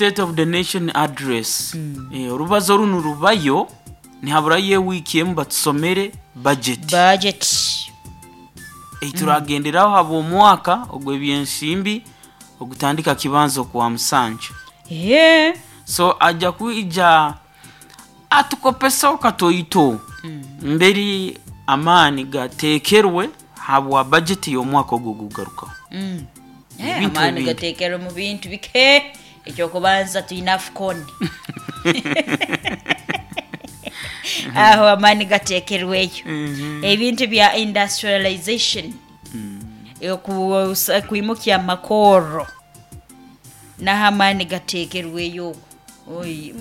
State of the Nation Address. Orubazo runu rubayo nihaburayo ewiiki emu batusomere budget. Budget. Eituragenderaho habw'omwaka ogw'ebyensimbi ogutandika kibanza okwa musanju. So ajja kwija atukopesaho katoito mberi amaani gateekerwe habwa budget y'omwaka ogwo ogugarukaho. Ebintu Amaani ebindi. Gateekerwe mu bintu bike. Ekyokubanza twine AFCON. Aho amaani gateekerweyo. Ebintu bya industrialization. Kwimukya amakorro. Naho amaani gateekerweyo okwo. Oi,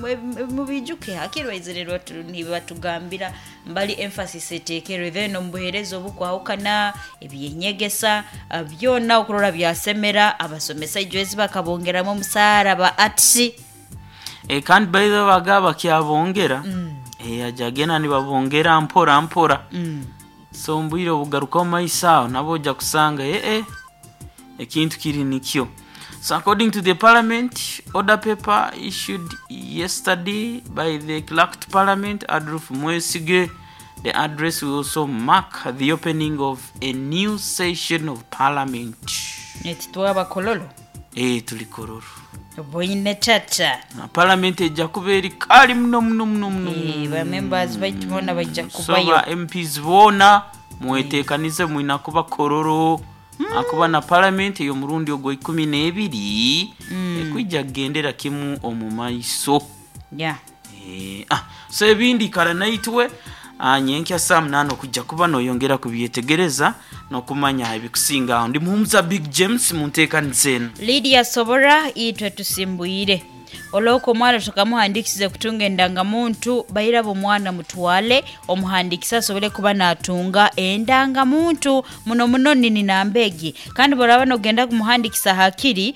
mubijuke hakiri baizire nibatugambira mbali emphasis eteekerwe, then omu buheereza obukwahukana ebyenyegesa, byona okurora byasemera abasomesa ijwezi bakabongeramu omusaara ba arts. Kandi by the way bagaba bakyabongera. Aja agenda nibabongera mpora mpora. So omu bwire obugaruka omu maiso aho nabo ojja kusanga ekintu kiri nikyo. So according to the parliament order paper issued yesterday by the clerk to parliament Adolf Mwesige, the address will also mark the opening of a new session of parliament. Nititwaba kololo. Tuli kololo. Boine tata. Na parliament ejja kuba eri kali muno muno muno muno. Ba members baitu boona bajja So kubayo. ba MPs boona mweteekanize mwina kuba kololo. Akuba na parliament ey'omurundi ogwa 12 ekwijja kugendera kimu omu maiso. So ebindi ikara naitwe nyenkya saa 8 okujja kuba noyongera kubyetegereza n'okumanya ebikusinga aho. Ndi Muhumuza Big James mu nteekaniza enu. Lydia Sobora itwe tusimbwire. Olwoko omwana tukamuhandikisize kutunga endangamuntu, bairaba omwana mutwale omuhandikise asobole kuba natunga endangamuntu muno muno nini nambegi. Kandi boraba nogenda kumuhandikisa hakiri,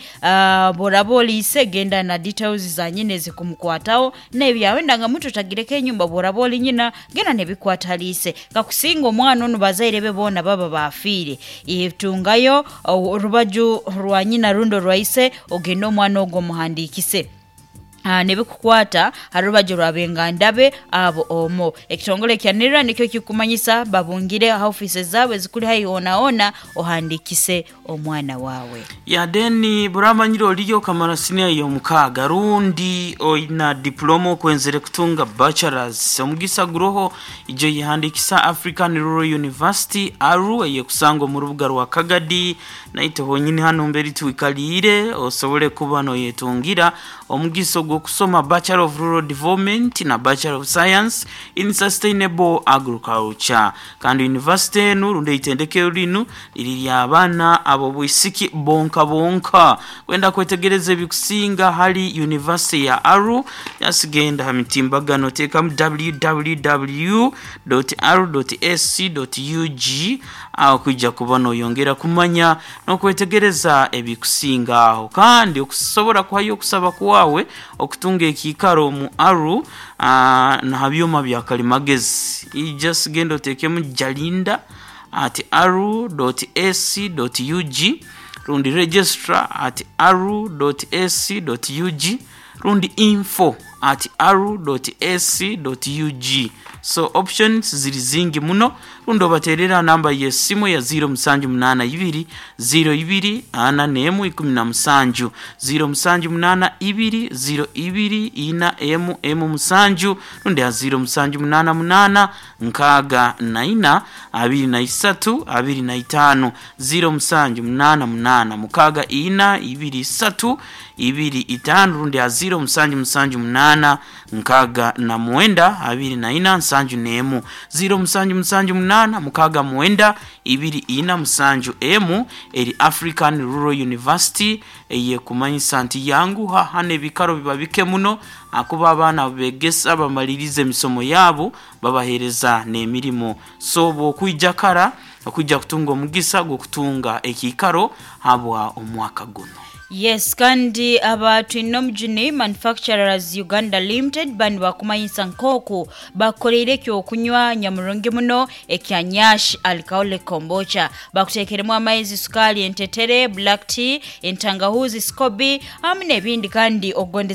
boraba oliise genda na details za nyina ezikumukwataho n'ebyawe endangamuntu otagireko enyumba, boraba oli nyina genda nebikwataliise. Kakusinga omwana onu bazaire be boona baba bafiire, tungayo orubaju rwa nyina rundi orwaise ogende omwana ogwo omuhandikise. Nebikukwata ha rubaju rwabenganda be abo omwo. Ekitongole kya NIRA nikyo kikumanyisa babungire aha office zaabo ezikuri haihi hoona hoona ohandikise omwana waawe. Ya then buramanyire oliyo okamara siniya y'omukaaga rundi oina diploma okwenzere kutunga bachelors, omugisa guroho ijo yihandikisa African Rural University ARU eyekusangwa omu rubuga rwa Kagadi naite honyini hanu mberi twikaliire osobole kuba noyetungira omugisa ogw'okusoma Bachelor of Rural Development na Bachelor of Science in Sustainable Agriculture. Kandi university enu rundi eitendekero rinu riri ly'abaana ab'obwisiki bonka bonka. Kwenda kwetegereza ebikusinga hali university ya ARU yasigenda ha mitimbagano teekamu www.aru.ac.ug aho kwija kuba noyongera kumanya n'okwetegereza ebikusinga aho. Kandi okusobora kuhayo okusaba kwawe okutunga ekiikaro omu ARU, na ha byoma bya kalimagezi just genda oteekemu jalinda at aru.ac.ug rundi registrar at aru.ac.ug rundi info at aru.ac.ug. So options ziri zingi muno, rundi obateerera namba y'esimu ya 0782 02 41 17 0782 02 4 1 7 rundi ha 0788 64 23 25 0788 64 23 25 rundi ha 0778 69 24 71 0778 69 24 71 eri African Rural University eyekumanyisa nti yanguha hano ebikaro biba bike muno akuba abaana begesa bamaliriza emisomo yaabo babaheereza n'emirimo. So bw'okwija kara okwija kutunga omugisa gw'okutunga ekiikaro habwa omwaka guno. Yes, kandi aba Twinomujuni Manufacturers Uganda Limited bani bakumanyisa nk'oku bakukoleire ekyokunywa nyamurungi muno ekya Nyash Alcoholic Kombucha. Bakuteekeremu amaizi, sukaali, entetere, black tea, entangahuzi, scoby hamu n'ebindi kandi ogondeza.